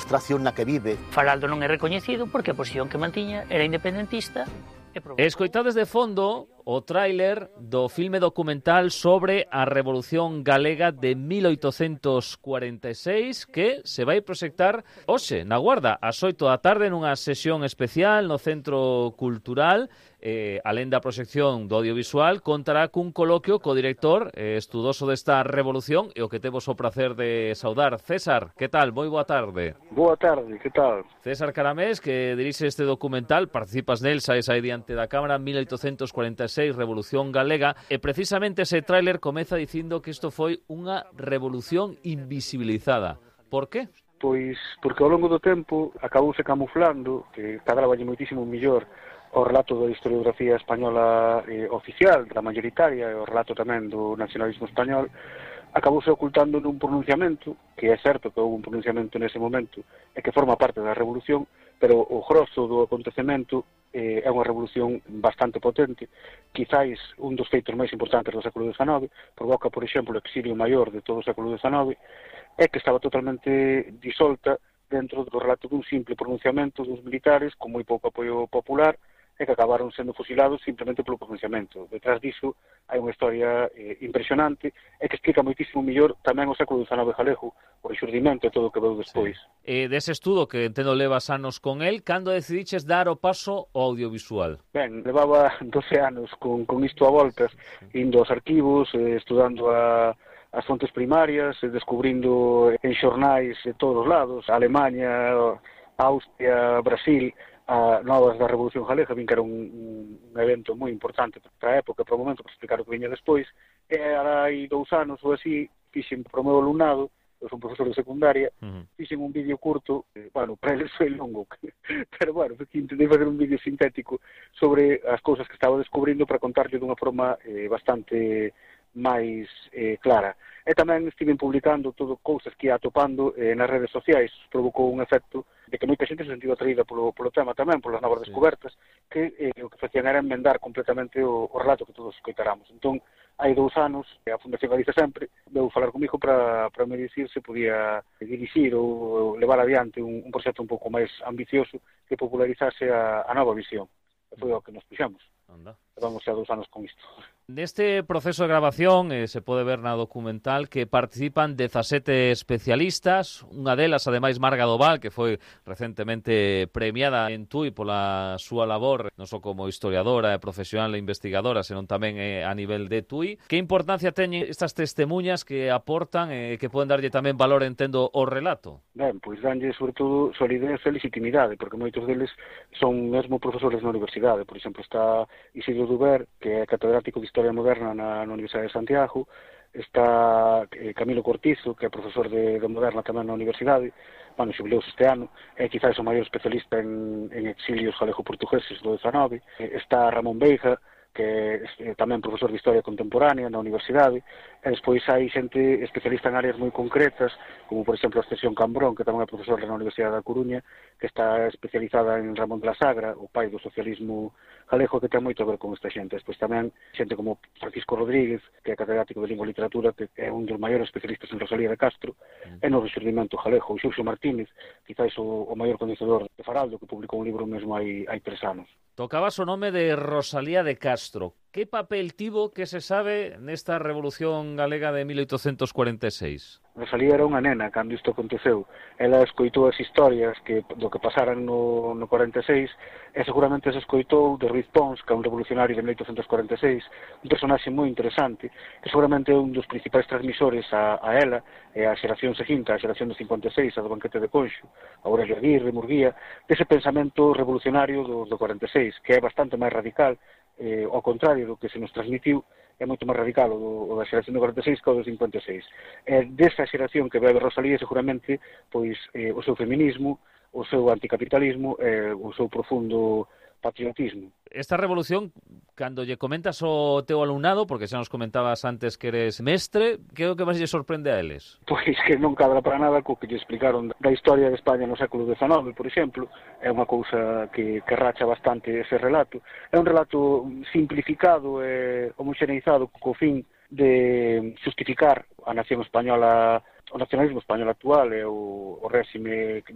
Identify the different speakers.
Speaker 1: frustración na que vive.
Speaker 2: Faraldo non é recoñecido porque a posición que mantiña era independentista.
Speaker 3: Escoitades de fondo o tráiler do filme documental sobre a Revolución Galega de 1846 que se vai proxectar hoxe na Guarda ás 8 da tarde nunha sesión especial no Centro Cultural. Alén da proxección do audiovisual, contará cun coloquio co director estudoso desta revolución e o que temos o placer de saudar. César, que tal? Moi boa tarde.
Speaker 4: Boa tarde, que tal?
Speaker 3: César Caramés, que dirixe este documental, participas nel, saes aí diante da cámara, 1846, Revolución Galega, e precisamente ese tráiler comeza dicindo que isto foi unha revolución invisibilizada. Por qué?
Speaker 4: Pois porque ao longo do tempo acabouse camuflando, que cadraballe moitísimo mellor o relato da historiografía española oficial, da mayoritaria, e o relato tamén do nacionalismo español, acabouse ocultando nun pronunciamento, que é certo que houve un pronunciamento nese momento, e que forma parte da revolución, pero o grosso do acontecemento é unha revolución bastante potente, quizáis un dos feitos máis importantes do século XIX, provoca, por exemplo, o exilio maior de todo o século XIX, é que estaba totalmente disolta dentro do relato dun simple pronunciamento dos militares con moi pouco apoio popular e que acabaron sendo fusilados simplemente polo pronunciamento. Detrás diso hai unha historia impresionante e que explica moitísimo mellor tamén o século XIX galego, o rexurdimento e todo o que veu despois.
Speaker 3: Sí. Dese estudo que entendo levas anos con el, cando decidiches dar o paso ao audiovisual?
Speaker 4: Ben, levaba 12 anos con isto a voltas, indo aos arquivos, estudando as fontes primarias, descubrindo en xornais de todos os lados, Alemanha, Austria, Brasil, novas da Revolución Galega, vin que era un evento moi importante para a época, para o momento, para explicar o que viña despois, e hai 2 anos ou así, fixen para o meu alumnado, eu son profesor de secundaria, fixen un vídeo curto, bueno, para eles foi longo, pero bueno, intentei fazer un vídeo sintético sobre as cousas que estaba descubrindo para contarlle dunha forma bastante máis clara. E tamén estive publicando todo cousas que ia atopando nas redes sociais, provocou un efecto de que moita xente se sentiu atraída polo tema tamén, polas novas descobertas, que o que facían era enmendar completamente o relato que todos escoitáramos. Entón, hai 2 anos, a Fundación Galiza Sempre veu falar comigo para me dicir se podía dirixir ou levar adiante un proxecto un pouco máis ambicioso que popularizase a nova visión. E foi o que nos puxamos. Vamos xa 2 anos con isto.
Speaker 3: Neste proceso de grabación se pode ver na documental que participan 17 especialistas, unha delas, ademais, Marga Doval, que foi recentemente premiada en TUI pola súa labor, non só como historiadora, profesional e investigadora, senón tamén a nivel de TUI. Que importancia teñen estas testemunhas que aportan e que poden darlle tamén valor, entendo, ao relato?
Speaker 4: Ben, pois danlle, sobre todo, solidez e legitimidade, porque moitos deles son mesmo profesores na universidade. Por exemplo, está Isidro Duber, que é catedrático de Historia Moderna na Universidade de Santiago, está Camilo Cortizo, que é profesor de Moderna tamén na Universidade, bueno, xubileuse este ano, é quizás o maior especialista en exilios galego-portugueses do XIX, está Ramón Veiga, que é tamén profesor de Historia Contemporánea na Universidade, e despois hai xente especialista en áreas moi concretas, como por exemplo a Ascensión Cambrón, que tamén é profesor na Universidade da Coruña, que está especializada en Ramón de la Sagra, o pai do socialismo galego, que ten moito a ver con esta xente. Despois tamén xente como Francisco Rodríguez, que é catedrático de Lingua e Literatura, que é un dos maiores especialistas en Rosalía de Castro, e no rexurdimento galego, o Xurxo Martínez, quizás o maior coñecedor de Faraldo, que publicou un libro mesmo hai 3 anos.
Speaker 3: Tocabas o nome de Rosalía de Castro. Que papel tivo, que se sabe, nesta Revolución Galega de 1846?
Speaker 4: Rosalía era unha nena cando isto aconteceu. Ela escoitou as historias do que pasaran no 46 e seguramente se escoitou de Ruiz Pons, que é un revolucionario de 1846, un personaxe moi interesante, que seguramente é un dos principais transmisores a ela e a xeración seguinte, a xeración do 56, a do banquete de Conxo, a Aurelio Aguirre, Murguía, dese pensamento revolucionario do 46, que é bastante máis radical, ao contrario do que se nos transmitiu, é moito máis radical o da xeración do 46 que o do 56. Desa xeración que bebe Rosalía, seguramente, pois o seu feminismo, o seu anticapitalismo, o seu profundo patriotismo.
Speaker 3: Esta revolución, cando lle comentas ao teu alumnado, porque xa nos comentabas antes que eres mestre, que é o que máis lle sorprende a eles?
Speaker 4: Pois que non cadra para nada co que lle explicaron da historia de España no século XIX, por exemplo. É unha cousa que racha bastante ese relato. É un relato simplificado e homoxeneizado co fin de justificar a nación española, o nacionalismo español actual e o réxime no que